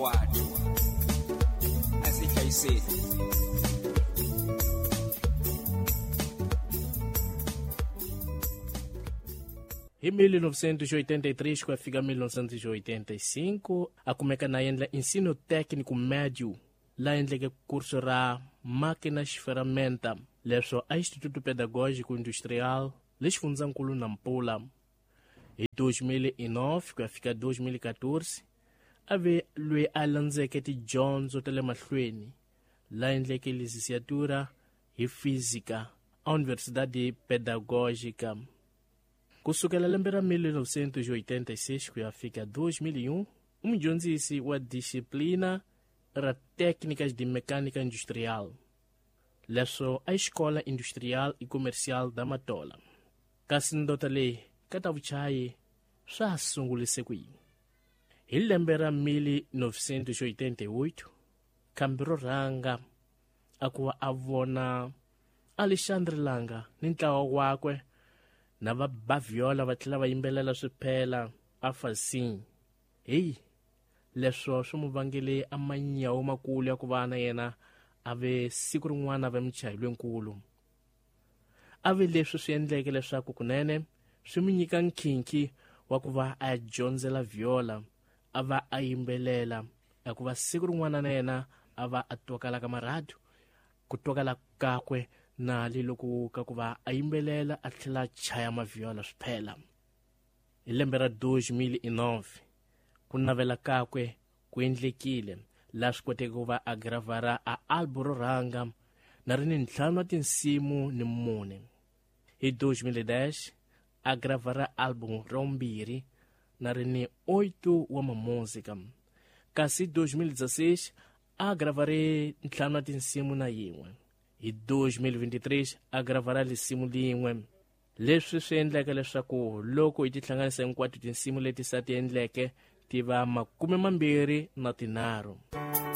hinkwato a swi hlayiseni. Hi 1983 ku ya fika 1985 a kumeka na endla ensino técnico médio la endleke kurso ra máquinas ferramenta leswo a Instituto Pedagógico Industrial le xifundzankulu Nampula. Hi 2009 ku ya fika 2014 a ve loyi a landzeke tidyondzo ta le mahlweni la endleke licenciatura hi física a Universidade Pedagógica. Ku sukela lembe ra 1986 ku ya fika 2001 u mudyondzisi wa disciplina ra técnicas de mecânica industrial leswo a Escola Industrial e Comercial da Matola. Kasi ndota leyi ka ta vuchayi swa ha sungulise ku yini? Hi lembe ra 1988 khambi ro rhanga a ku va a vona Alexandre Langa ni ntlawa wakwe na va ba viola va tlhela va yimbelela swiphela a fasini. Heyi, leswo swi mu vangele a manyawu makulu ya ku va na yena a ve siku rin'wana a ve muchayi lwenkulu. A ve leswi swi endleke leswaku kunene swi mu nyika nkhinkhi wa ku va a dyondzela viola a va a yimbelela, hikuva siku rin'wana na yena a va a twakala ka marhadu, ku twakala kakwe na le loko ka ku va a yimbelela a tlhela a chaya maviola swiphela. Hi lembe ra 2009 ku navela kakwe ku endlekile laha swi koteke ku va a gravara a album ro rhanga na ri ni ntlhanu wa tinsimu ni mune. Hi 2010 a gravara album ra vumbirhi na ri ni 8 wa mamuzika. Kasi 2016 a gravare ntlhanu wa tinsimu na yin'we. Hi 2023 a gravara lisimu lin'we. Leswi swi endleke leswaku loko hi tihlanganisa hinkwato tinsimu leti sa ti endleke ti va 23.